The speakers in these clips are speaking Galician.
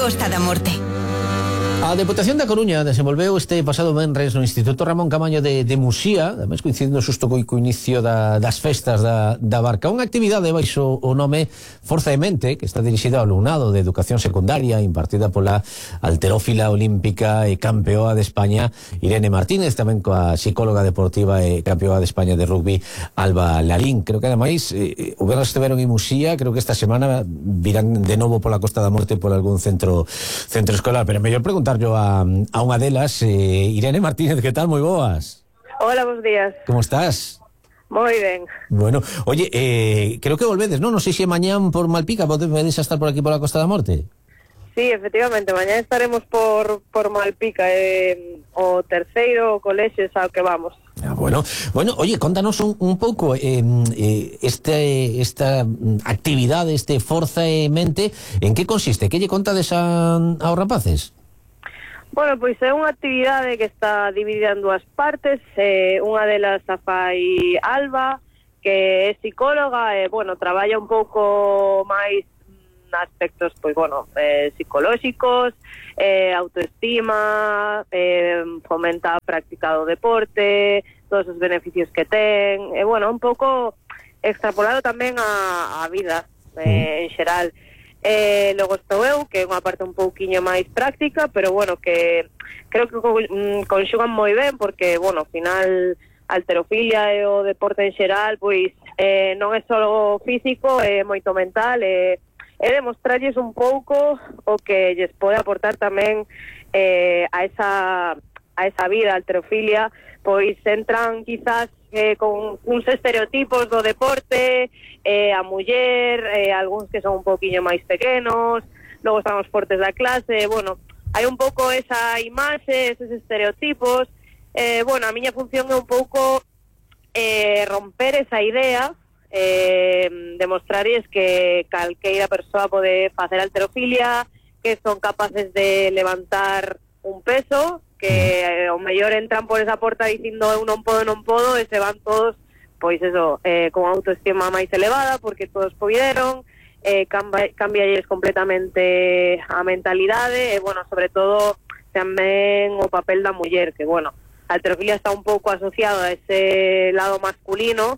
Costa da Morte. A Deputación da Coruña desenvolveu este pasado venres no Instituto Ramón Camaño de Muxía, ademais coincidindo xusto co inicio das festas da Barca, unha actividade baixo o nome Forza de Mente, que está dirixida ao alumnado de educación secundaria, impartida pola halterófila olímpica e campeoa de España Irene Martínez, tamén coa psicóloga deportiva e campeoa de España de rugby Alba Larín. Creo que ademais o venres estiveron en Muxía, creo que esta semana virán de novo pola Costa da Morte por algún centro escolar, pero mellor preguntar a unha delas, Irene Martínez, que tal? Moi boas. Hola, bons días. Como estás? Moi ben. Bueno, oye, creo que volvedes, non? Non sei se mañán por Malpica podedes estar por aquí por a Costa da Morte. Sí, efectivamente, mañán estaremos por Malpica, o terceiro colexio ao que vamos. Bueno, oye, contanos un pouco esta actividade, este Forza e Mente, en que consiste? Que lle contades aos rapaces? Bueno, pois é unha actividade que está dividida en dúas partes. Unha delas a fai Alba, que é psicóloga, bueno, traballa un pouco máis aspectos, pois, bueno, psicolóxicos, autoestima, fomenta a práctica do deporte, todos os beneficios que ten, bueno, un pouco extrapolado tamén a vida en xeral. Logo estou eu, que é unha parte un pouquiño máis práctica, pero bueno, que creo que conxugan moi ben, porque, bueno, ao final a halterofilia e o deporte en xeral, pois non é só físico, é moito mental, é demostrarlles un pouco o que lles pode aportar tamén a esa vida, a halterofilia, pois entran quizás con uns estereotipos do deporte, a muller, algúns que son un poquinho máis pequenos, logo están os fortes da clase, bueno, hai un pouco esa imaxe, esos estereotipos, bueno, a miña función é un pouco romper esa idea, demostrarles que calqueira persoa pode facer halterofilia, que son capaces de levantar un peso, que o mellor entran por esa porta dicindo eu non podo, e se van todos, pois eso, con autoestima máis elevada, porque todos poderon, cambialles completamente a mentalidade, e, bueno, sobre todo, tamén o papel da muller, que, bueno, a halterofilia está un pouco asociado a ese lado masculino,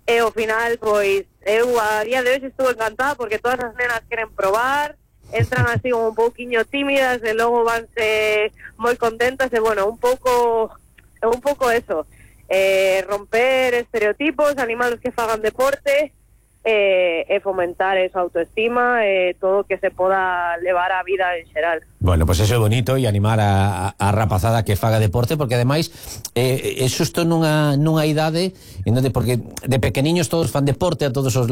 e ao final, pois, eu a día de hoxe estuve encantada, porque todas as nenas queren probar, entran así un pouquiño tímidas e logo vanse moi contentas, e bueno, un pouco eso, romper estereotipos, animalos que fagan deporte, e fomentar esa autoestima, todo que se poda levar a vida en xeral. Bueno, pues eso é bonito, e animar a rapazada que faga deporte, porque ademais é xusto nunha idade en donde, porque de pequeniños todos fan deporte, a todos os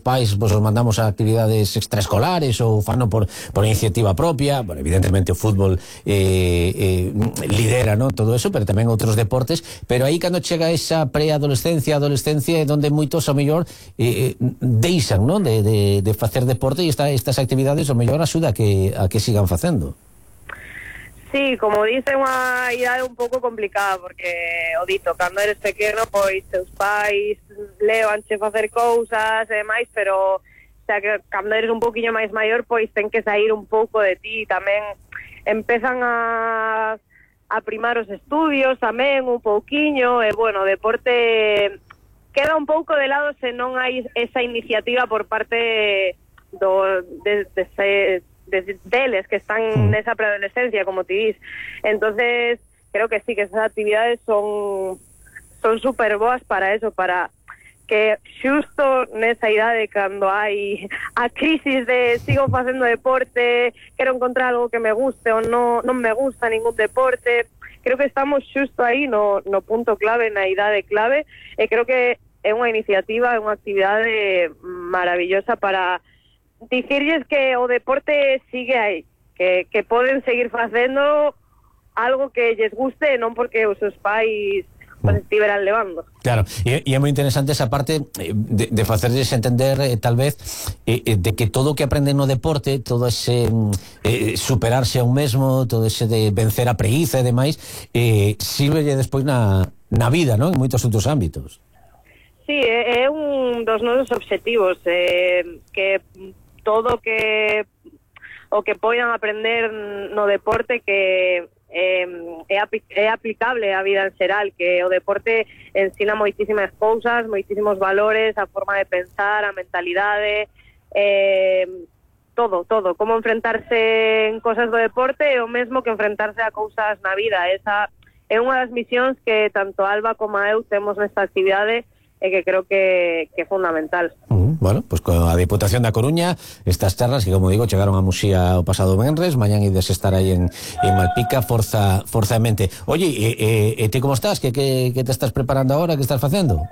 pais pues, os mandamos a actividades extraescolares ou fano por iniciativa propia. Bueno, evidentemente o fútbol lidera, ¿no?, todo eso, pero tamén outros deportes, pero aí cando chega esa preadolescencia, adolescencia, é donde moitos ao mellor deixan, ¿no?, de facer deporte, e estas actividades ao mellor axuda a que sigan facendo. Sí, como dice, unha idade un pouco complicada, porque, o dito, cando eres pequeno, pois, teus pais levanche facer cousas e demais, pero, o sea, que cando eres un pouquiño máis maior, pois, ten que sair un pouco de ti, tamén empezan a primar os estudios tamén un pouquiño, e, bueno, o deporte queda un pouco de lado se non hai esa iniciativa por parte deles que están nesa preadolescencia, como ti dis. Entonces, creo que sí, que esas actividades son super boas para eso, para que xusto nesa idade, cando hai a crisis de sigo facendo deporte, quero encontrar algo que me guste ou non me gusta ningún deporte, creo que estamos xusto aí no punto clave, na idade clave, e creo que é unha iniciativa, é unha actividade maravillosa para dicirlles que o deporte sigue aí, que poden seguir facendo algo que lles guste, non porque os seus pais pues estiveran levando. Claro, e é moi interesante esa parte de facerlles entender, tal vez, de que todo o que aprenden no deporte, todo ese superarse a un mesmo, todo ese de vencer a preguiza e demais, sírvelle despois na vida, non? En moitos outros ámbitos. Sí, é un dos nosos obxectivos, que todo que o que poidan aprender no deporte que é aplicable á vida en xeral, que o deporte ensina moitísimas cousas, moitísimos valores, a forma de pensar, a mentalidade, todo, como enfrentarse en cosas do deporte é o mesmo que enfrentarse a cousas na vida. Esa é unha das misións que tanto Alba como eu temos nesta actividade e que creo que é fundamental. Bueno, pues con a Diputación da Coruña estas charlas que, como digo, chegaron a Muxía o pasado venres, mañán ides estar aí en Malpica forzamente. Oye, e ti como estás? Que te estás preparando ahora? Que estás facendo?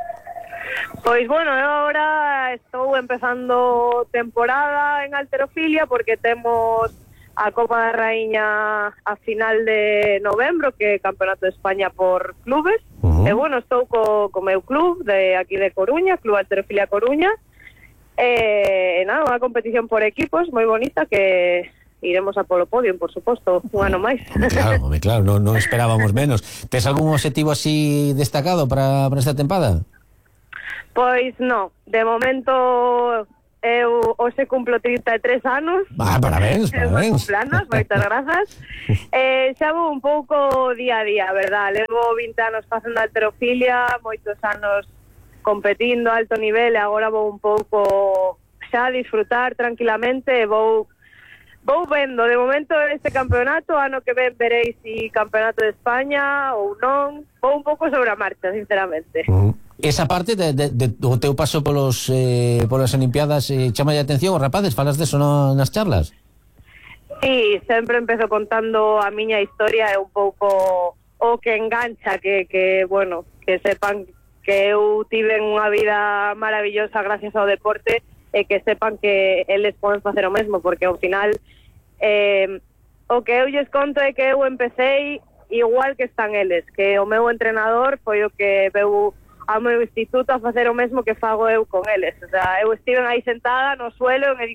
Pois bueno, eu agora estou empezando temporada en halterofilia porque temos a Copa da Raíña a final de novembro, que é Campeonato de España por clubes. E bueno, estou co meu club de aquí de Coruña, Club Halterofilia Coruña. Nada, unha competición por equipos moi bonita que iremos a polo podio, por suposto, un ano máis. Claro, non esperábamos menos. Tes algún objetivo así destacado para esta tempada? Pois non, de momento eu hoxe cumplo 33 anos. Parabéns. Cumpleanos, moitas grazas. Xa vou un pouco día a día, verdad? Levo 20 anos facendo halterofilia, moitos anos competindo a alto nivel, e agora vou un pouco xa a disfrutar tranquilamente e vou vendo. De momento este campeonato, ano que ven veréis si campeonato de España ou non. Vou un pouco sobre a marcha, sinceramente. Esa parte do teu paso polas Olimpiadas chama de atención os rapaces? Falas deso nas charlas? Sí, sempre empezo contando a miña historia, é un pouco o que engancha, que bueno, que sepan que eu tiven unha vida maravillosa gracias ao deporte e que sepan que eles poden facer o mesmo, porque ao final o que eu lles conto é que eu empecé igual que están eles, que o meu entrenador foi o que veu ao meu instituto a facer o mesmo que fago eu con eles. O sea, eu estive aí sentada no suelo en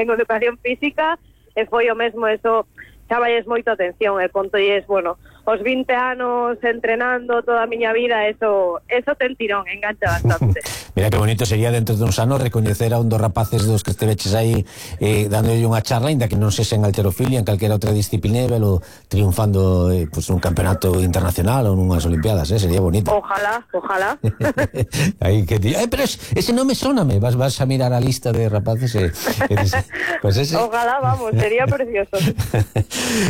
educación física e foi o mesmo. Eso chamalles moito atención e contolles, bueno, os 20 anos entrenando toda a miña vida, eso ten tirón, engancha bastante. Mira que bonito sería dentro de uns anos recoñecer a un dos rapaces dos que esteveches aí dándolle unha charla, ainda que non sexa en halterofilia, en calquera outra disciplina, ou triunfando pues, nun campeonato internacional ou nunhas Olimpiadas, sería bonito. Ojalá. Aí que pero ese nome sóname, vas a mirar a lista de rapaces pues ese... Ojalá, vamos, sería precioso.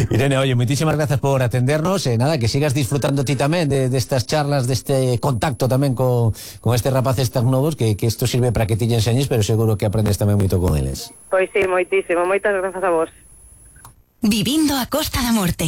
Irene, oye, moitísimas grazas por atendernos, nada, que sigas disfrutando ti tamén destas charlas, deste contacto tamén con estes rapaces tan novos, que isto sirve para que ti lle enseñes, pero seguro que aprendes tamén moito con eles. Pois sí, moitísimo, moitas grazas a vos. Vivindo a Costa da Morte.